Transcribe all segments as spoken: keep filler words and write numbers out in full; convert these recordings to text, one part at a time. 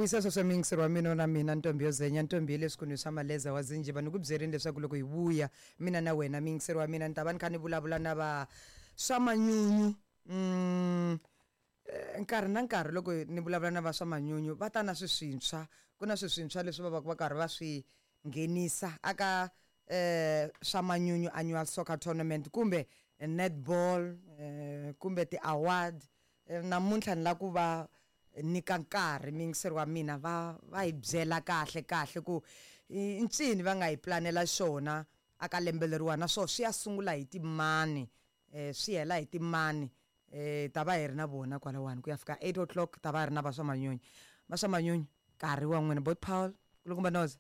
vuyisa sweswo muyingiseri wa mina na mina ntombi yo zenya ntombi ya le swikunwini swa maleza wa zinjiva ni ku byerini leswaku loko hi vuya mina na wena muyingiseri wa mina ni ta va ni kha ni vulavula na va swa manyunyu mm, eh, nkarhi na nkarhi loko ni vulavula na va swa manyunyu va ta na swi swintshwa ku na swi swintshwa leswi va va va karhi va swi nghenisa aka eh swa manyunyu annual soccer tournament kumbe netball eh, kumbe ti-award eh, namuntlha ni la ku va nyika nkarhi muyingiseri wa mina va va hi byela kahle kahle ku i ncini va nga hi planela xona aka lembe leriwani naswona swi ya sungula hi timani eh swi hela hi timani eh ta va hi ri na vona kwalawani ku ya fika eight o'clock ta va hi ri na va swa manyunyu va swa manyunyu nkarhi wa n'wina bot Paul kulukumba Noza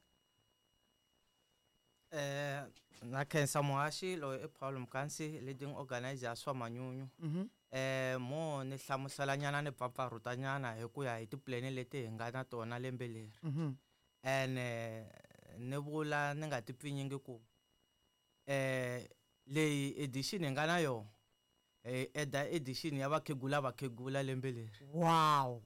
Eh na khensa muhaxi loyi i Paul Mkansi leading organizer ya swa manyunyu mhm eh mo ni hlamusela nyana ni pfapfarhuta nyana hi ku ya hi tipulani leti hi nga na tona lembe leri mhm ene ni vula ni nga ti pfinyingi ku eh leyi edition hi nga na yona hi eda edition ya vakhegula vakhegula lembe leri wow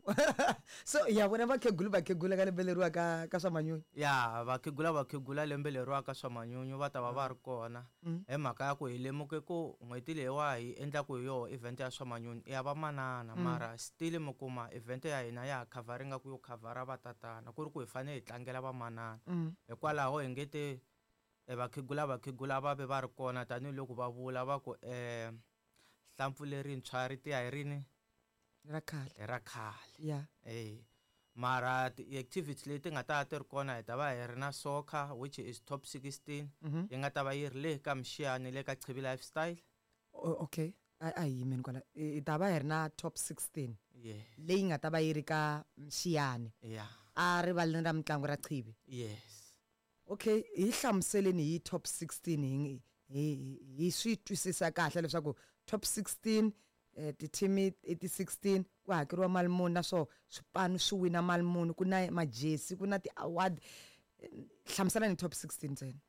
so ya vona vakhegula vakhegula ka lembe leriwa ka ka swa manyunyu ya vakhegula vakhegula lembe leriwa ka swa manyunyu va ta va va ri kona Mm. hi mhaka ya ku hi lemuke ku n'hweti leyiwa hi endlaku hi yoho event ya swa manyunyu i ya vamanana Mm. mara still mi kuma event ya hina ya ha khavharinga ku yo khavhara vatatana ku ri ku hi fanele hi tlangela vamanana mm. hikwalaho hi nge te eh, vakhegula vakhegula va ve va ri kona tanihiloko va vula va ku um hlampfu lerintshwa ri tiya hi rini ra khale hi ra khale ya e mara ti-activity leti nga ta va ti ri kona hi ta va hi ri na soccer which is top sixteen mhm yi nga ta va yi ri le ka mixiyani le ka Chibi Lifestyle O- okay a a hi yimeni kwala hi ta va hi ri na top sixteen yeah leyi nga ta va yi ri ka mxiyani yeah a rivaleni ra mitlangu ra Chibi yes okay hi hlamuseleni hi top sixteen hi hi hi swi twisisa kahle leswaku top sixteen eh, ti-team i ti sixteen ku hakeriwa mali muni naswona swipanu swi wina mali muni ku na majesi ku na ti-award Eh, hlamuselani top sixteen ntsena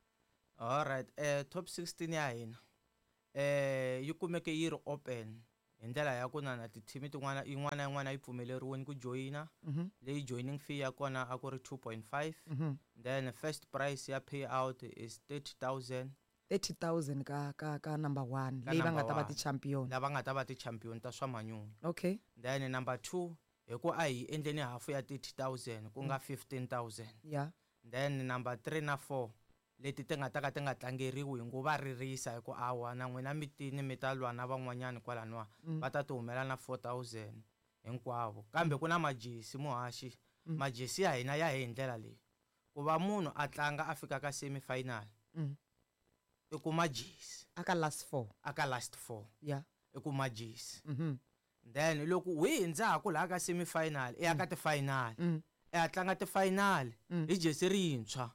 alright eh top sixteen ya hina eh yi kumeke yi ri open hi ndlela ya ku na na ti-team tin'wana yin'wana na yin'wana yi pfumeleriwini ku joyina Mhm, leyi joining fee ya kona a ku ri two point five mhm. then first price ya payout is thirty thousand thirty thousand ka ka ka number one Ka leyi va number nga ta va one. ti-champion lava nga ta va ti-champion ta swa manyunyu okay then number two hi ku a hi endleni hafu ya thirty thousand ku nga fifteen thousand yeah then number three na four leti ti nga ta ka ti nga tlangeriwi hi ngo va ririsa hi ku awa na n'wina mi tini mi ta lwa na van'wanyani kwalaniwa Mm. va ta ti humela na four thousand hinkwavo kambe ku na majesi muhaxi Mm. majesi ya hina ya hi hi ndlela leyi ku va munhu a tlanga a fika ka semi final Mm. i kuma jesi aka last four a ka last four yeah i kuma jesi mhm then loko hi hindzaku laha ka semi final i ya ka ti-final mm. i ya tlanga ti-final Mm. hi jesi rintshwa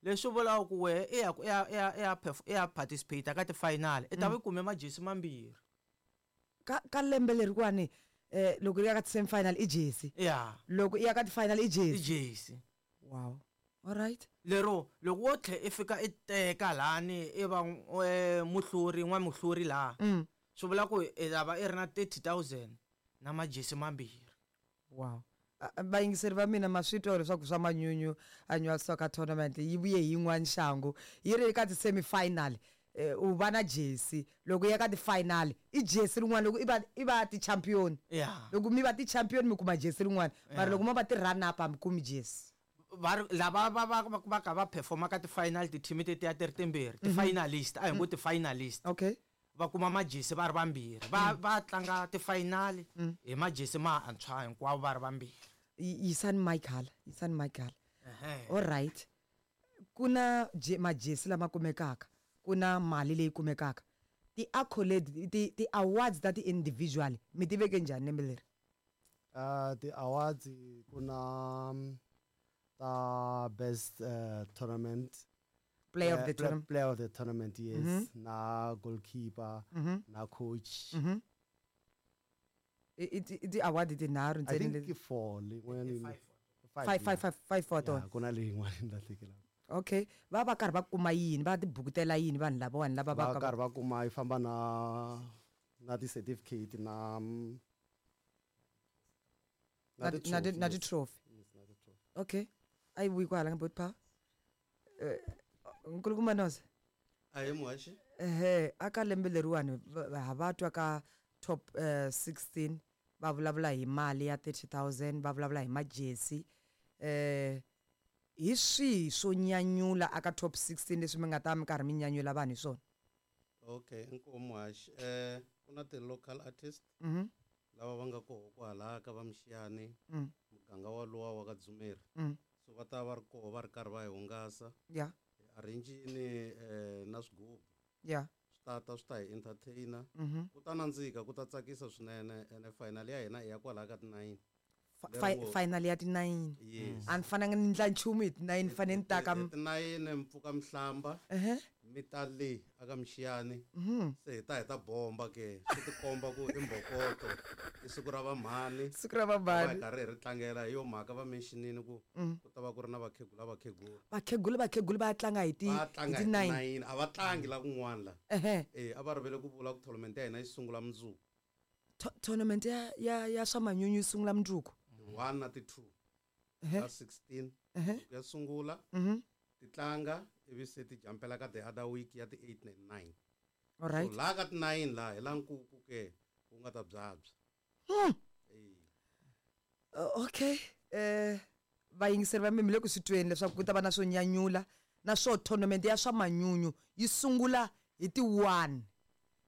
leswi vulaka ku wehe i ya ku i ya i ya i ya perf- i ya participate ka ti-final i ta va i kume majesi mambirhi ka ka lembe leriwani eh loko i ya ka ti-semi final i jesi ya loko i ya ka ti-final i i jesi jesi wow alright lero loko wo tlhe i fika i teka lani i va eh, muhluri n'wamuhluri laha mm. swi vula ku i ta va i ri na thirty thousand na majesi mambirhi wow A- a- vayingiseri va mina ma swi twa leswaku swa manyunyu annual soccer tournament yi vuye hi yin'wana xangu yi ri ka ti-semi final eh, u va na jesi loko i ya ka ti-final i jesi rin'wana loko i va i va ti-champion ya loko mi va ti-champion mi kuma jesi rin'wana mara Yeah. loko mo va ti-run up a mi kumi jesi va ri lava va va va va ka va performa ka ti-final ti-team tetiya ti ri timbirhi ti-finalist a hi ngo ti-finalist okay va kuma majesi va ri vambirhi va va tlanga ti-final Mm. hi majesi mantshwa hinkwavo va ri vambirhi Y- yisani mic hala yisani mic hala Ehe. alright ku na je- majesi lama kumekaka ku na mali leyi kumekaka ti-accolade ti- ti-awards ta ti-individual mi ti veke njhani lembe leri Uh, ti-awards ku na mm, ta best uh, tournament player of Player- the play- tournament player of the tournament yes Mhm. na goalkeeper Mhm, na coach mhm. I- i ti- i ti-award tinharhu i ntsena think leti i four leyin'wanyana I yi- five. five yeah. five five five for Yeah, tona ku na leyin'wana ni lahlekelaka okay va va karhi va kuma yini va tibukutela yini vanhu lavawani lava va va karhi va kuma yi famba na na ti-certificate na mm, na ti- na ti- na yes. ti-trophy Yes, na ti-trophy. Okay, a yi vuyi kwahala ka bot power. Eh, nkulukumba Noza. Ahee muhaxi. Ehe, aka lembe leriwani va- va- ha va twa ka top eh, sixteen va vulavula hi mali ya thirty thousand, va vulavula hi majesi. Eh hi swihi swo nyanyula aka top sixteen leswi mi nga ta mi karhi mi nyanyula vanhu hi swona? Okay, inkomu muhaxi. Eh ku na ti-local artist Mhm. lava va nga koho kwalaya ka va Mxiyani, Mm. muganga walowa wa ka Dzumeri. Mm. So va ta va ri koho va ri karhi va hi hungasa. Yeah. Hi arrange-ini, eh, na swigubu. Yeah. Swi ta ta swi ta hi entertainer. Mhm. Ku ta nandzika, ku ta tsakisa swinene. Ene final ya hina i ya kwalaya ka ti-nine. Fa-, Lero fi-, ngo- final ya ti-nine. Yes. A ni fananga ni ndla nchumu hi ti-nine, ni fanele ni ta ka Hi ti-nine mi pfuka mi hlamba. Ehe. Mi ta le aka Mxiyani. Mhm. Se hi ta hi ta bomba ke. Swi ti komba ku i mbokoto. I siku ra vamhani. Siku ra vamhani. Va hi karhi hi ri tlangela hi yo mhaka va mentionini ku Mm. ku ta va ku ri na vakhegula vakhegula. Vakhegula vakhegula va tlanga hi ti Va tlanga hi hi ti-nine. ti-nine. A va tlangi la kun'wana la. Ehe. Eh, a va rivele ku vula ku tournament ya hina yi sungula mundzuku. To-, tournament ya, ya, ya swa manyunyu yi sungula mundzuku. One na ti two. Ehe. Ta sixteen. Ehe. Ya sungula. Mhm. Ti tlanga ivi se ti jumpela ka the other week ya ti eight and nine. All right. So laha ka ti nine laha hi la nkuku ke wu nga ta byabya. Hmm. Eh. Uh, okay. Eh, vayingiseri va mina mi le ku swi tweni leswaku ku ta va na swo nyanyula na swo tournament ya swa manyunyu yi sungula hi ti one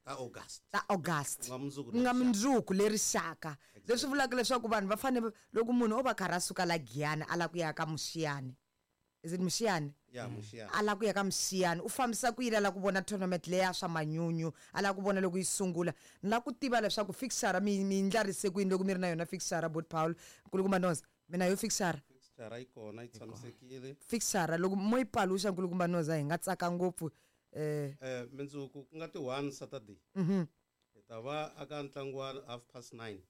Ta August. Ta August. Ku nga mundzuku Ku nga leri mundzuku leri xaka. Leswi vulaka leswaku vanhu va fanele loko munhu o va karhi a suka la Giyani a lava ku ya ka Mxiyani. Is it Mxiyani? Ya, Mxiyani. A lava ku ya ka Mxiyani, u fambisa ku yini a lava ku vona tournament leya swa manyunyu, a lava ku vona loko yi sungula. Ni lava ku tiva leswaku fixture mi, mi ndlarise ku yini loko mi ri na yona fixture, Bot Paul, nkulukumba Noza. Mina yo fixture. Fixture yi kona, yi tshamisekile. Fixture loko mo yi paluxa nkulukumba Noza hi nga tsaka ngopfu. Eh. Eh, mundzuku ku nga ti one Saturday. Mhm. Hi ta va aka ntlangu wa half past nine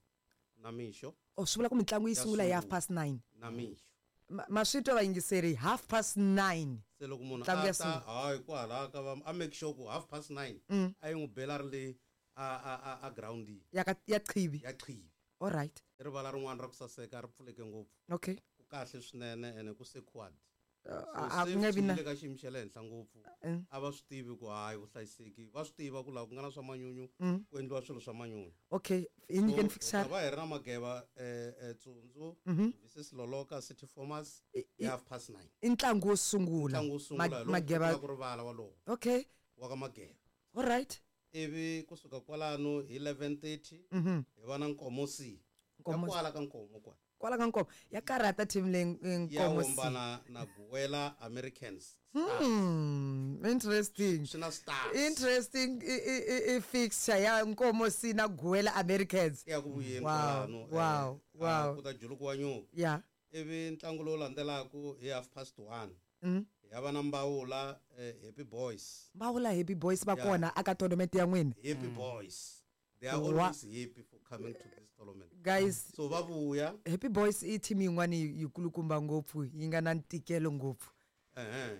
na mixo. Oh, swi vula ku mitlangu yi Ya sungula hi half sungula. past nine. Na mixo. Ma-, ma swi twa vayingiseri, half past nine. Se loko munhu Ntlangu a ya ta, sungula. hayi, kwalaya ka va, a make sure ku half past nine, Mm. a yi n'wi bela ri le a, a, a, a groundini. Ya ka, ya Qhibi. Ya Qhibi. All right. I rivala rin'wana ra ku saseka, ri pfuleke ngopfu. Okay. Ku kahle swinene ene ku secured. Uh, So a ku nge vi na safety yi le ka xiyimo xa le henhla ngopfu. Mm. A va swi tivi ku hayi vuhlayiseki, va swi tiva ku laha ku nga na swa manyunyu, Mm. ku endliwa swilo swa manyunyu. Okay, hi nyikeni So, fixture. hi ta va hi ri na Mageva, eh, eh, Tsundzu, Mhm. Missus Loloka, City Formers, I-, hi i-, half past nine. I ntlangu wo sungula. Ntlangu wo sungula, Ma-, hi lowu Mageva. ku rivala walowo. Okay. Wa ka Mageva. All right. Ivi kusuka kwalano hi eleven thirty, Mhm. hi va na Nkomo C. Nkomo Ya C. kwala ka Nkomo kwala. Kwala ka Nkomo. Ya karhata team leyi Nkomo Ya C. wombana na Guwela Americans. Hmm, interesting. Swi na stars. Interesting i, i, i, i fixture ya Nkomo C na Guwela Americans. Ya ku vuyeni Wow, kwalano, eh, wow, ah, wow. ku ta julukiwa nyuku. Yeah. Ivi ntlangu lowu landzelaka hi half past one. Mm. Ya va na Mbawula, eh, Happy Boys. Mbawula Happy Boys va Yeah. kona aka tournament ya n'wina. Happy Boys. They are Wa- always happy for coming to this tournament. Guys, So va vuya. Happy Boys i team yin'wana yi, yi kulukumba ngopfu, yi nga na ntikelo ngopfu. Ehe.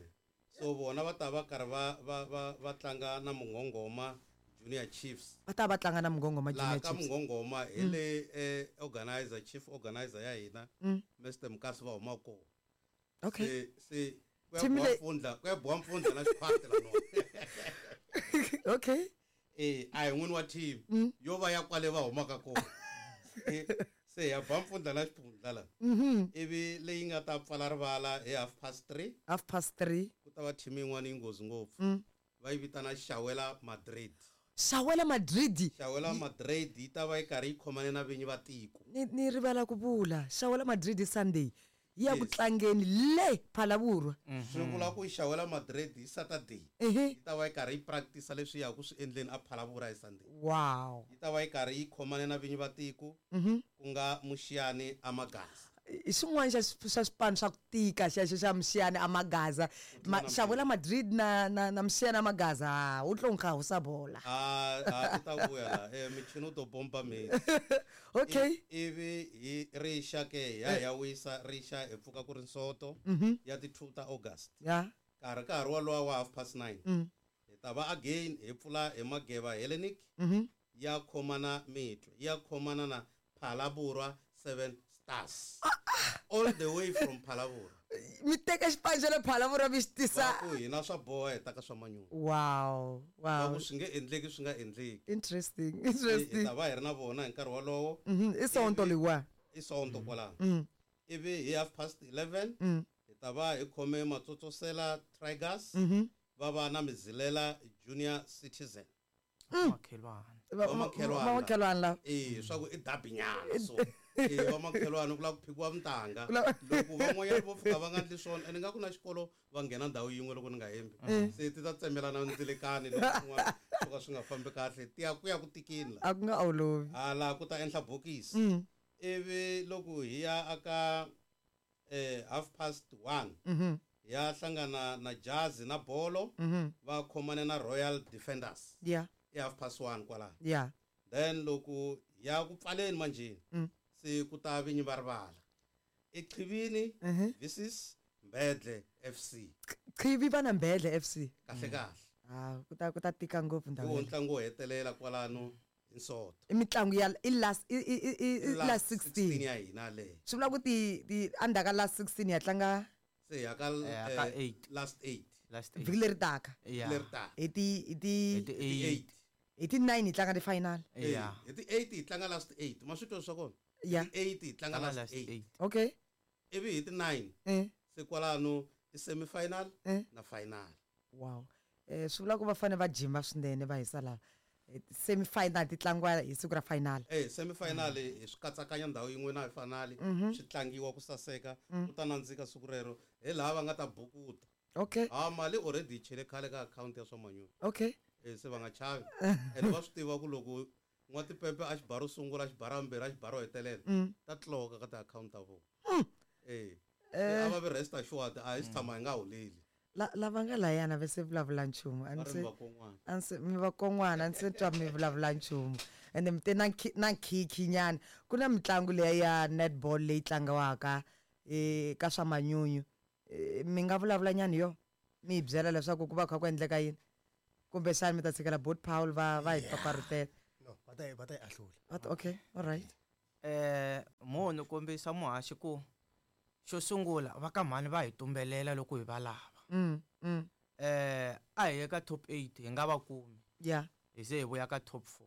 So vona va ta va karhi va, va, va, va tlanga na Mungongoma Junior Chiefs. Va ta va tlanga na Mungongoma Laha Junior ka Chiefs. Mungongoma hi Mm. le, eh, organizer, chief organizer ya hina, Mm. Mister Mukasi va huma kona. Okay. Se, se ku ya Team boha le- mpfundla, ku ya boha mpfundla na xiphati la nona. Okay. Eh, a hi n'wini wa team. Mm. Yo va ya kwale va humaka kona. Eh, se ya ba mpfundla na xiphundla la. Mhm. Ivi leyi nga ta pfala rivala hi half past three. Half past three. Ku ta va team yin'wana yi nghozi ngopfu. Mm. Va yi vitana Shawela Madrid. Shawela Madrid. Shawela Madrid yi ta va yi karhi yi khomane na vinyi va tiko. Ni, ni rivala ku vula Shawela Madrid hi Sunday. Yi ya ku Yes. tlangeni le Phalaborwa. Swi vula ku Shawela Madrid hi Saturday. Ehe. Yi ta va yi karhi yi practice leswi ya ku swi endleni a Phalaborwa hi Sunday. Wow. Yi ta va yi karhi yi khomane na vinyi va tiko, Mhm. ku nga Muxiyani Amagaza. I xin'wana xa swi-, xa swipano swa ku tika xexo xa Muxiyani Amagaza. Ma-, Ku tlula na Shawela mpimo. Madrid na, na, na Muxiyani Amagaza, ha, wu tlo nkha wu sa bola. Ah, ah, ku ta vuya la. Eh, michini wu to pompa metsi. Okay. I-, ivi hi rixa ke, ya, ya wisa, rixa hi pfuka ku ri nsoto, Mhm. ya ti two ta August. Ya. Nkarhi ka ha ri walowa wa half past nine. Mm. Hi ta va again hi pfula hi Mageva Hellenic. Mhm. Ya khomana mitwe, ya khomana na Phalaborwa Seven Stars. Ah, ah. All the way from Phalavura. Mi teka xipano xa le Phalavura mi xi tisa. Va ku hina swa boha hi ta ka swa manyunyu. Wow, Va wow. ku swi nge endleki swi nga endleki. Interesting, Hi interesting. ta va hi ri na vona hi nkarhi wolowo. Mhm, i Sonto leyiwa. I Sonto kwalano. Mm. Ivi hi half past eleven Mm. hi ta va hi khome Matsotsosela Tigers Mhm. va va na Mizilela Junior Citizen. Mm. Vamakhelwana. Va- Vamakhelwana. Vamakhelwana lava. Eh, swa ku i dabinyana so. Eh, vamakhelwana ku lava ku phikiwa mintanga. Ku lava- Loko van'wanyana vo fika va nga endli swona, ene nga ku na xikolo va nghena ndhawu yin'we loko ni nga hembi. Mm. Se ti ta tsemelana ndzilekani loko swin'wana swo ka swi nga fambi kahle, ti ya ku ya ku tikini la. A ku nga olovi. Hala ku ta endla bokisi. Mm. Ivi loko hi ya aka eh half past one Mhm. hi ya hlangana na Jazi na bolo Mhm. va khomane na Royal Defenders. Yeah. I half past one kwalano. Yeah. Then loko ya ku pfaleni manjheni Mm. se ku ta vinyi va rivala. Eqhivini Mhm. versus Mbedle F C. Qhivi va na Mbedle F C. Kahle kahle. Ah, ku ta ku ta tika ngopfu ndhawu Hi wo yaleyo. ntlangu wo hetelela kwalano hi Sonto. I mitlangu ya i last i i i i I last last sixteen. sixteen ya hina leyo. Swi vula ku ti ti endzhaku ka last sixteen ya tlanga Se ya ka, Eh, ka eh, eight. last eight. Last eight. vhiki leri taka. Yeah. Leri taka. Hi ti hi ti Hi ti Hi ti eight. eight. hi ti nine hi tlanga ti final. Yeah. Hi ti eight hi tlanga last eight. Ma swi twa swa kona? Yeah. Hi ti eight hi tlanga Tlanga last last eight. eight. Okay. Ivi hi ti nine. Eh. Se kwalano i semi final Eh. na final. Wow. Eh swi vula ku va fanele va jima swinene va hisa lava. Semi final ti tlangiwa hi siku ra final. Eh semi final hi swi katsakanya ndhawu yin'we na final Mhm. swi tlangiwa ku saseka Mm. ku ta nandzika siku rero hi laha va nga ta bukuta. Okay. Ha mali already yi chele khale ka account ya swa manyunyu. Okay. Eh se va nga chavi. Ene va swi tiva ku loko n'watipepe a xibaro sungula a xibaro mbirhi a xibaro hetelela Mm. ta tloka ka ti-account ta vona. Mm. Eh. Eh. A va vi rest assured a hi si tshama hi nga holeli. La lava nga layana va se vulavula nchumu. A Va ni ri se vakon'wana. a ni se mi vakon'wana a ni se twa mi vulavula nchumu. Ende mi te na na nkhinkhi nyana. Ku na mitlangu leya ya netball leyi tlangiwaka eh ka swa manyunyu. Mi nga vulavula nyana hi yona? Mi hi byela leswaku ku va kha ku endleka yini? Kumbexana mi ta tshikela Bot Paul va va hi paparutela. No, va ta va ta yi ahlula. Va ta okay, all right. Eh mo ni kombisa muhaxi ku xo sungula va ka mhani va hi tumbelela loko hi va lava. Mm, mm. Eh a hi ye ka top eight hi nga va kumi. Yeah. Hi ze hi vuya ka top four.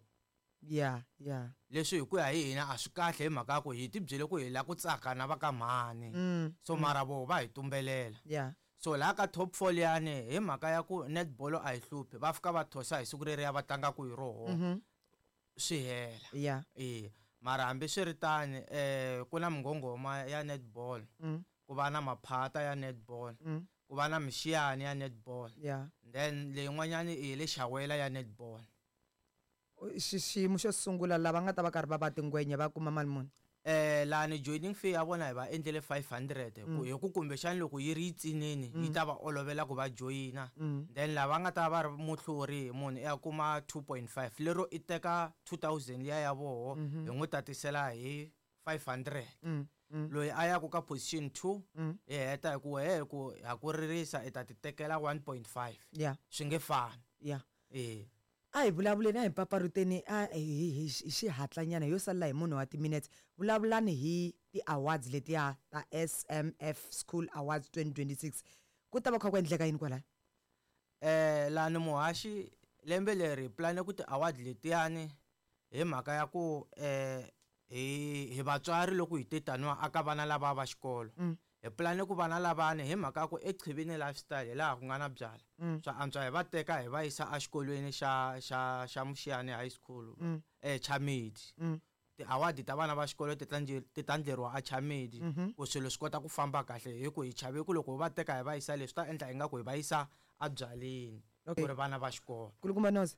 Yeah, yeah. Leswi hi ku ya hi hina a swi kahle hi mhaka ya ku hi ti byele ku hi lava ku tsaka na va ka mhani. Mm, So mm. mara voho va hi tumbelela. Yeah. So laha ka top four liyani hi mhaka ya ku netball a hi hluphi va fika va thosa hi siku reriya va tlangaka hi roho. Mhm. Swi hela. Yeah. Eh mara hambiswiritano eh ku na minghonghoma ya netball. Mm. Ku va na maphata ya netball. Mm. Ku va na mixiyani ya netball. Yeah. Then leyin'wanyani i le xawela ya netball. Xiyimo xo sungula lava nga ta va karhi va va tingwenya va kuma mali muni? Eh lani joining fee ya vona hi va endlele five hundred ku Mm. hi ku kumbexani loko yi ri yi tsinini yi Mm. ta va olovela ku va joyina. Mm. Then lava nga ta va ri muhluri munhu i ya kuma two point five lero i teka two thousand liya ya voho Mhm. hi n'wi tatisela hi five hundred. Mm, mm. Loyi a yaku ka position two Mm. hi heta hi ku wehe ku ha ku ririsa i ta ti tekela one point five. Yeah. Swi nge fani. Yeah. Eh. A hi vulavuleni a hi paparuteni a hi hi hi xihatlanyana yo salela hi munhu wa timinetse. Vulavulani hi ti-awards letiya ta S M F School Awards twenty twenty-six. Ku ta va kha ku endleka yini kwalaya? Eh lani muhaxi lembe leri hi plane ku ti-award letiyani hi mhaka ya ku eh hi hi vatswari loko hi te taniwa aka vana lava va xikolo. Mm. Hi plane ku vana lavani hi mhaka ya ku eQhivini lifestyle hi laha ku nga na byala. Mm. Swa antswa hi va teka hi va yisa exikolweni xa xa xa Muxiyani High School Mm. eh Chamedi. Mm. Ti-award ta vana va xikolo ti ta ti ta endleriwa a Chamedi Mhm. ku swilo swi kota ku famba kahle hi ku hi chave ku loko va teka hi va yisa leswi ta endla ingaku hi va yisa ebyaleni Okay. ku ri vana va xikolo. Kulukumba Noza.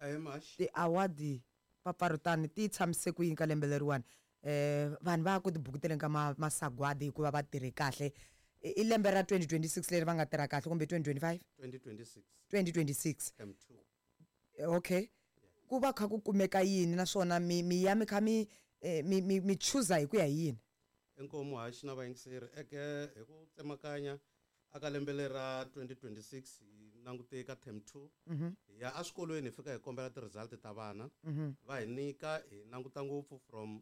Eh Max. Ti-award paparutani ti tshamise ku yini ka lembe leriwani? Eh vanhu va ku tibukuteleni ka masagwadi hikuva va tirhe kahle. I lembe ra twenty twenty-six leri va nga tirha kahle kumbe twenty twenty-five? twenty twenty-six. twenty twenty-six. M two. Okay. Ku va kha ku kumeka yini naswona mi mi ya mi kha mi mi mi mi chuza hi ku ya hi yini? Inkomu haxi na vayingiseri eke hi ku tsemakanya aka lembe leri ra twenty twenty-six hi langute ka term two. Mhm. Hi ya eswikolweni hi fika hi kombela ti-result ta vana. Mhm. Va hi nyika hi languta ngopfu from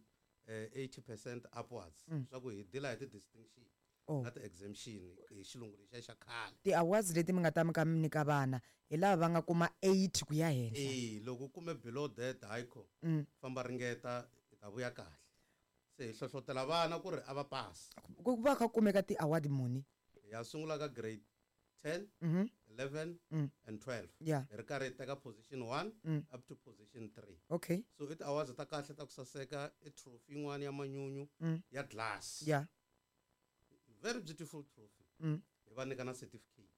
eh, eighty percent upwards Mm. swa ku hi deal-a hi ti-distinction Oh. na ti-exemption hi xilungu lexiya xa khale. Ti-awards leti mi nga ta mi ka mi nyika vana hi lava va nga kuma eight ku ya henhla. E loko u kume below that, hayikho, Mm. famba ringeta, hi ta vuya kahle. Se hi hlohlotela vana ku ri a va pasi. Ku va kha ku kumeka ti-award muni? Hi ya sungula ka grade ten, Mhm. eleven Mm. and twelve. Yeah. Hi ri karhi hi teka position one Mm. up to position three. Okay. So i ti-awards ta kahle ta ku saseka, i trophy yin'wana ya manyunyu Mm. ya glass. Yeah. Very beautiful trophy. Mm. Hi va nyika na certificate.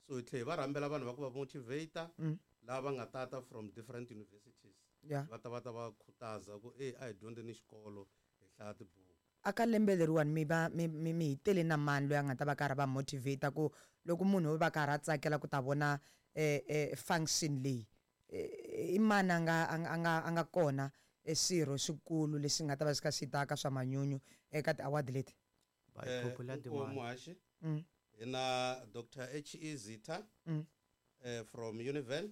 So hi tlhela hi va rhambela vanhu va ku va motivate Mm. lava va nga tata from different universities. Yeah. Va ta va ta va khutaza ku e a hi dyondzeni xikolo, hi hlaya tibuku. A ka lembe leriwani mi va mi mi mi hi tele na mani loyi a nga ta va karhi va motivate ku loko munhu o va karhi a tsakela ku ta vona eh, eh, function leyi, eh, i mani a nga a nga a nga a nga kona e swirho xikulu lexi nga ta va xi kha xi ta ka swa manyunyu eka ti-award leti? By Eh, popular inkomu demand. Muhaxi. Mm. Hi na Doctor H E Zitha Mm. eh, from Univen.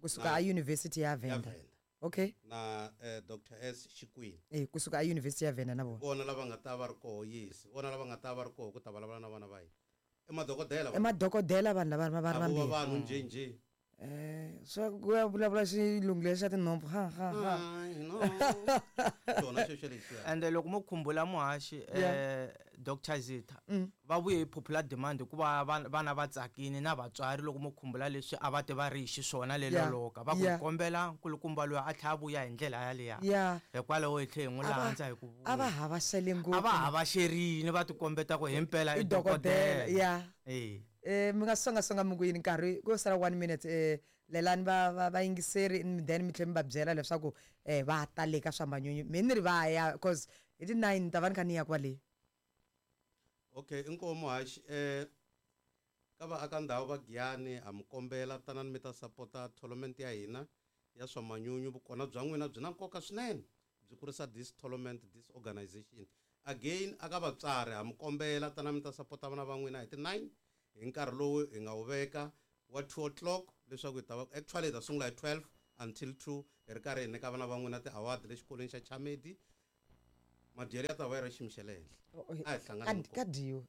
Kusuka Na a University ya ya Venda. Venda. Okay. Na, eh, Doctor S Xikwini. Eh, kusuka a University ya Venda na vona. Vona lava nga ta va ri koho, yes. Vona lava nga ta va ri koho ku ta vulavula na vana va hina. I madokodela I vanhu. madokodela vanhu lava va va ri A vo va vambirhi. vanhu njhe njhe. Eh, swa ku ya vulavula xilungu lexi xa tinhompfu ha ha ha. Ai, no. Xona xexo lexiya. Ende loko mo khumbula muhaxi, Yeah. eh, Doctor Zitha Mm. va vuye hi popular demand hikuva vana vana va tsakini na vatswari. Loko mo khumbula leswi a va te va ri hi xiswona le Yeah. loloka, va ku Yeah. hi kombela nkulukumba loyi a tlhela a vuya hi ndlela yaliya. Yeah. Hikwalaho hi tlhe hi n'wi A va- landza hi ku a va vuya. havaxele ngopfu. A va havaxerini, va tikombeta ku himpela I i dokodela. dokodela. Yeah. Eh. Eh, mi nga songasonga mi ku yini nkarhi ku sala one minute, eh, lelani va va va yingiseri, then mi tlhela mi va byela leswaku eh va ta le ka swa manyunyu. Mi ni ri va ya cause hi ti nine ni ta va ni kha ni ya kwale. Okay, inkomu Muhaxi, eh ka vaaka ndhawu va Giyani ha mi kombela tanani mi ta sapota tournament ya hina ya swa manyunyu. Vukona bya n'wina byi na nkoka swinene, byi kurisa this tournament, this organization. Again, aka vatswari ha mi kombela tanani mi ta sapota vana va n'wina hi ti nine hi nkarhi lowu hi nga wu veka wa two o'clock, leswaku hi ta va actually hi ta sungula hi twelve until two, hi ri karhi hi nyika vana va n'wina ti-award le xikolweni xa Chamedi. Madyelo ya ta va yi ri xiyimo xa le henhla. Oh, oh, A hi hlanganeni ka- ka dyiwa.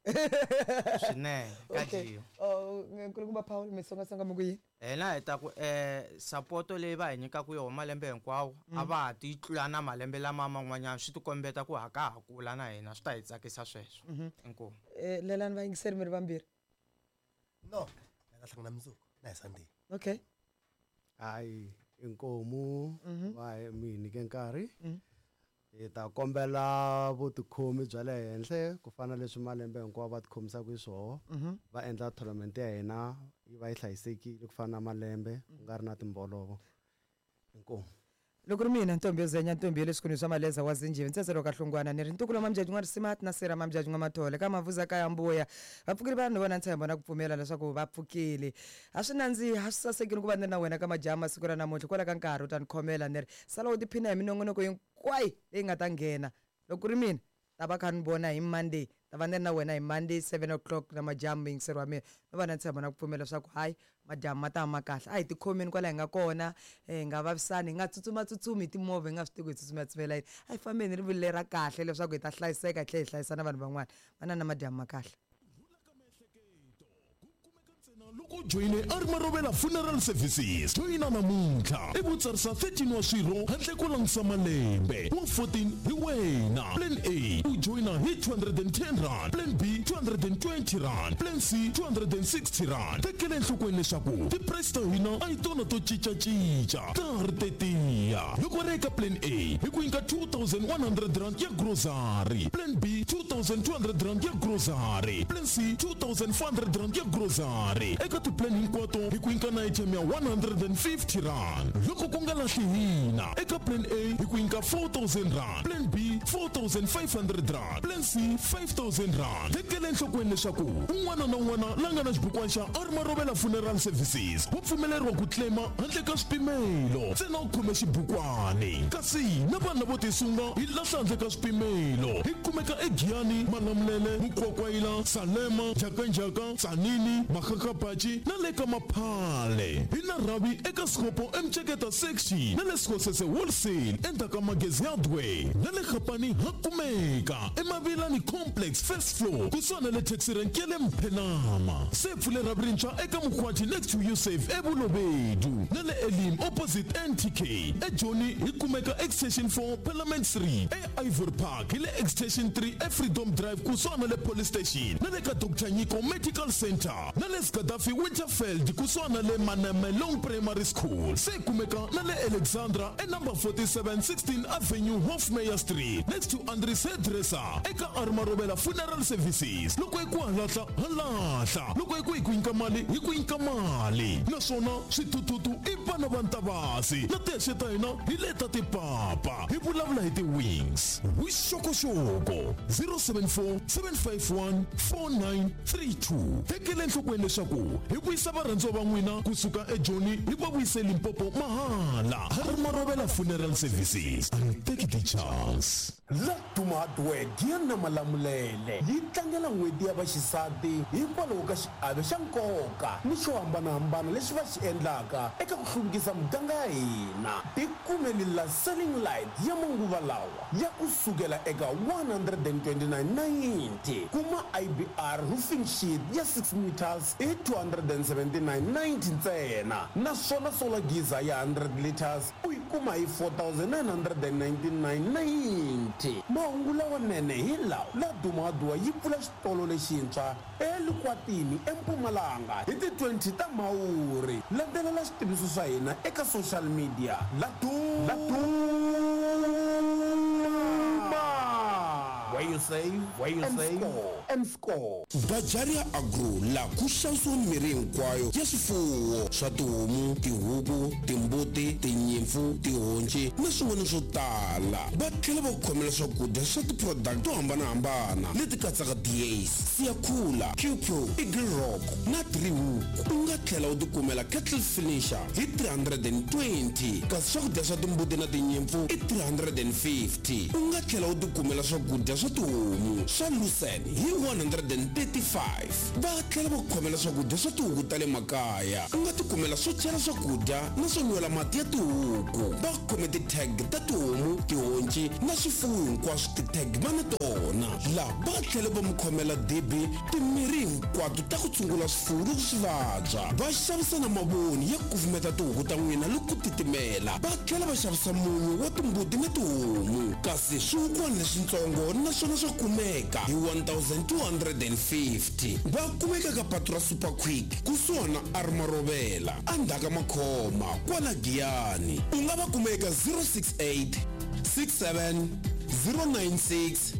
Swinene, ka Okay. dyiwa. Oh, nkulukumba Paul, mi songasonga mi ku yini? Hina hi ta ku, eh, support leyi va hi nyikaka yona malembe hinkwawo a va ha ti tlula na malembe lama man'wanyana, swi tikombeta ku ha ka ha kula na hina, swi ta hi tsakisa sweswo. Inkomu. Eh, lelani vayingiseri mi ri vambirhi. No, na ta hlangana mundzuku na hi Sunday. Okay. Hayi, inkomu Mhm. va hi mi hi nyike nkarhi. Mm. Hi ta kombela vutikhomi bya le henhla ku fana na leswi malembe hinkwawo va tikhomisaka hi swoho. Mhm. Va endla tournament ya hina yi va yi hlayisekile ku fana na malembe, ku nga ri na timbolovo. Inkomu. Loko ri mina ntombi yo zenya, ntombi ya le swikhundleni swa maleza wa zinjivi, ntsetselo ka hlungwana, ni ri ntukulu wa Mamjaji n'wa Risimati na sera Mamjaji n'wa Mathole ka Mavuza ka ya Mbuya. Va pfukile vanhu vona ntshembo na ku pfumela leswaku va pfukile. A swi nandziha, a swi sasekile ku va ni ri na wena ka majaha masiku ra namuntlha. Kwala ka nkarhi u ta ni khomela, ni ri sala u tiphina hi minongonoko hinkwayo leyi nga ta nghena. Loko ku ri mina ta va kha ni vona hi Monday, ta va ni ri na wena hi Monday seven o'clock na madyambu, yingiseri wa mina. No va na ntshembo na ku pfumela leswaku hayi, madyambu ma ta ma kahle. A hi tikhomeni kwala hi nga kona, eh, hi nga vavisani, hi nga tsutsumatsutsumi hi timovha, hi nga swi tivi ku hi tsutsumatsutsumela yini. A hi fambeni hi rivilo lera kahle leswaku hi ta hlayiseka hi tlhela hi hlayisa na vanhu van'wana. Va na na madyambu ma kahle. Loko joyine a ri Marovela Funeral Services, joyina namuntlha i vutsarisa thirteen wa swirho handle ko langutisa malembe wa fourteen hi wena. Plan A u joyina hi two hundred and ten rand, Plan B two hundred and twenty rand, Plan C two hundred and sixty rand. Tekela enhlokweni leswaku ti-price ta hina a hi tona to cincacinca, ta ha ri tetiya. Loko ri eka Plan A hi ku nyika two thousand one hundred rand ya grocery, Plan B two thousand two hundred rand ya grocery, Plan C two thousand four hundred rand ya grocery. Eka ti-plan hinkwato hi ku nyika na item ya one hundred and fifty rand. Loko ku nga lahli hina, eka Plan A hi ku nyika four thousand rand, Plan B four thousand five hundred rand, Plan C five thousand rand. Tekela enhlokweni leswaku un'wana na un'wana la nga na xibukwana xa a ri Marovela Funeral Services wa pfumeleriwa ku claima handle ka swipimelo, ntsena u khome xibukwani. Kasi na vanhu lavo tisunga hi lahla handle ka swipimelo. Hi kumeka eGiyani, Malamulele, Mukwakwayila, Salema, Njhakanjhaka, Tzaneen, Makgakgapatši na le ka Maphale. Hi na rhavi eka Sekgopo Emtsheketa section na le Sekgosese wholesale endzhaku ka Magezi Hardware na le Kgapane. eGiyani ha kumeka eMavilani Complex first floor kusuhana na le taxi rank ya le Mphenama. Se pfule ra rintshwa eka Mukhwati next to Yusuf eBulobedu na le Elim opposite N T K. eJoni hi kumeka Extension four Parliament Street, e Ivory Park hi le Extension three eFreedom Drive kusuhana na le Police Station na le ka Doctor Nyiko Medical Center na le Gaddafi Winterfeld kusuhana na le Manamelong Primary School. Se kumeka na le Alexandra e number forty-seven sixteen Avenue Hofmeyer Street next to Andries Hairdresser eka Armarobela Funeral Services. Loko hi ku halahla halahla, loko hi ku hi ku nyika mali hi ku nyika mali, naswona swithuthuthu i vana va Ntavasi na tihexe ta hina hi leta tipapa. Hi vulavula hi ti-wings. Vuxokoxoko zero seven four seven five one four nine three two. Tekela enhlokweni leswaku hi vuyisa varhandziwa va n'wina kusuka eJoni hi va vuyise Limpopo mahala. Armarobela Funeral Services, and take the chance. Laduma Hardware Giyani Malamulele yi tlangela n'hweti ya vaxisati hikwalaho ka xiave xa nkoka ni xo hambanahambana lexi va xi endlaka eka ku hluvukisa muganga ya hina. Tikumeli la selling light ya manguva lawa ya kusukela eka one hundred and twenty-nine ninety, kuma I B R roofing sheet ya six meters hi two hundred and seventy-nine ninety ntsena, naswona solar geyser ya hundred liters u yi kuma hi four thousand nine hundred and ninety-nine ninety. Mahungu lawanene hi lawa: Laduma Hardware yi pfula xitolo lexintshwa eLukwatini eMpumalanga hi ti twenty ta Mhawuri. Landzelela xitiviso swa hina eka social media. Laduma, where you save, where you and save score, and score. Bajaria Agro la ku xavisiwa mirhi hinkwayo ya swifuwo swa tihomu, tihuku, timbuti, tinyimpfu, tihonci na swin'wana swo tala. Va tlhela va ku khomela swakudya swa ti-product to hambanahambana leti katsaka D A's, Siyakhula, Q Pro, Eagle Rock na Three Hook. U nga tlhela u tikumela kettle finisher hi three hundred and twenty, kasi swakudya swa timbuti na tinyimpfu i three hundred and fifty. U nga tlhela u tikumela swakudya swa tihomu swa lucerne hi one hundred and thirty-five. Va tlhela va ku khomela swakudya swa tihuku ta le makaya. U nga tikumela swo chela swakudya na swo nwela mati ya tihuku. Va khome ti-tag ta tihomu, tihonci na swifuwo hinkwaswo, ti-tag va na tona. Laha va tlhela va mi khomela dibi, timirhi hinkwato ta ku tshungula swifuwo loko swi vabya. Va xavisa na mavoni ya ku kufumeta tihuku ta n'wina loko ku titimela. Va tlhela va xavisa munyu wa timbuti na tihomu, kasi swihukwana leswitsongo naswona swa kumeka hi one thousand two hundred and fifty. Va kumeka ka patu ra Super Quick kusuhana na Armarobela endzhaku ka Makhoma kwala Giyani. U nga va kuma eka zero six eight six seven zero nine six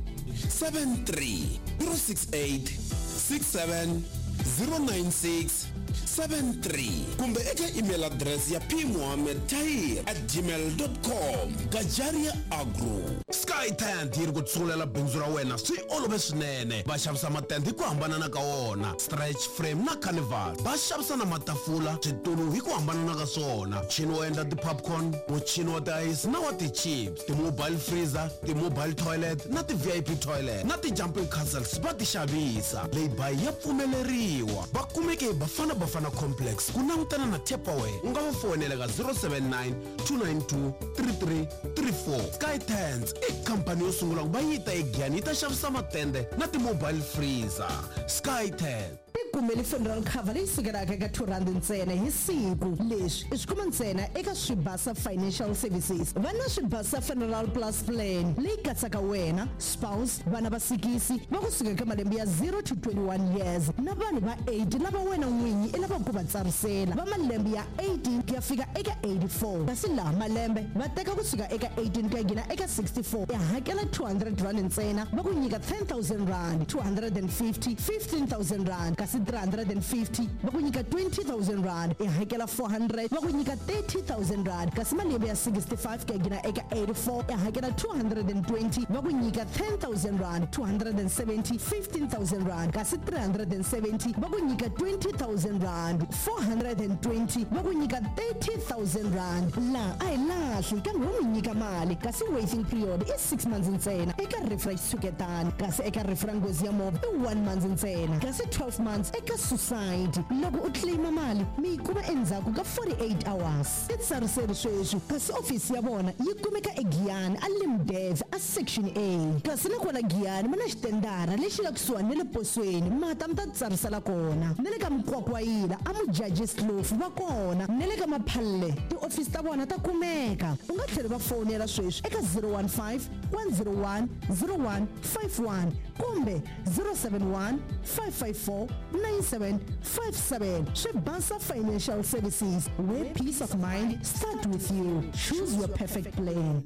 seven three, zero six eight six seven zero nine six seven three, kumbe eka email address ya pmuhammed tahir at gmail dot com. Gajaria Agro. Sky Tent yi ri ku tsungulela bindzu ra wena swi olove swinene. Va xavisa matende hi ku hambanana ka wona, stretch frame na carnival. Va xavisa na matafula, switulu hi ku hambanana ka swona, muchini wo endla ti-popcorn, muchini wa ti-ice na wa ti-chips, ti-mobile freezer, ti-mobile toilet na ti-V I P toilet na ti-jumping castles va ti xavisa. Lay-by ya pfumeleriwa. Va kumeke hi Bafana Bafana Complex ku langutana na Tupperware. U nga va foyinela ka zero seven nine two nine two three three three four. Sky Tents i khampani yo sungula ku va yi ta eGiyani yi ta xavisa matende na ti-mobile freezer. Sky Tent. Tikumeli funeral cover leyi sukelaka eka two rand ntsena hi siku. Leswi i swi kuma ntsena eka Swibasa Financial Services. Va na Swibasa Funeral Plus Plan leyi katsaka wena, spouse, vana va sikisi va kusuka eka malembe ya zero to twenty-one years na vanhu va eight lava wena n'winyi i lavaka ku va tsarisela va malembe ya eighteen ku ya fika eka eighty-four. Kasi laha malembe va teka kusuka eka eighteen ku ya nghena eka sixty-four, i hakela two hundred rand ntsena, va ku nyika ten thousand rand, two hundred and fifty, fifteen thousand rand, kasi three hundred and fifty va ku nyika twenty thousand rand, i hakela four hundred va ku nyika thirty thousand rand, kasi malembe ya sixty-five ku ya nghena eka eighty-four, i hakela two hundred and twenty va ku nyika ten thousand rand, two hundred and seventy, fifteen thousand rand, kasi three hundred and seventy va ku nyika twenty thousand rand, four hundred and twenty va ku nyika thirty thousand rand. Laha a hi lahli kambe wo mi nyika mali, kasi waiting period i six months ntsena eka rifu ra xitshuketano, kasi eka rifu ra nghozi ya movha i one month ntsena, kasi twelve months insurance eka society. Loko u claima mali mi yi kuma endzhaku ka forty-eight hours. Titsariseli sweswi, kasi ofisi ya vona yi kumeka eGiyani a Limdev a Section A. Kasi na kwala Giyani mi na xitendara lexi nga kusuhani na le posweni, mata mi ta titsarisela kona. Na le ka Mukwakwayila a Mujajis Kloof va kona, na le ka Maphalle tiofisi ta vona ta kumeka. U nga tlhela va fonela sweswi eka zero one five, one zero one, zero one five one kumbe zero seven one, five five four, nine seven five seven. Swibasa Financial Services, where peace of mind start with you. Choose your perfect plan.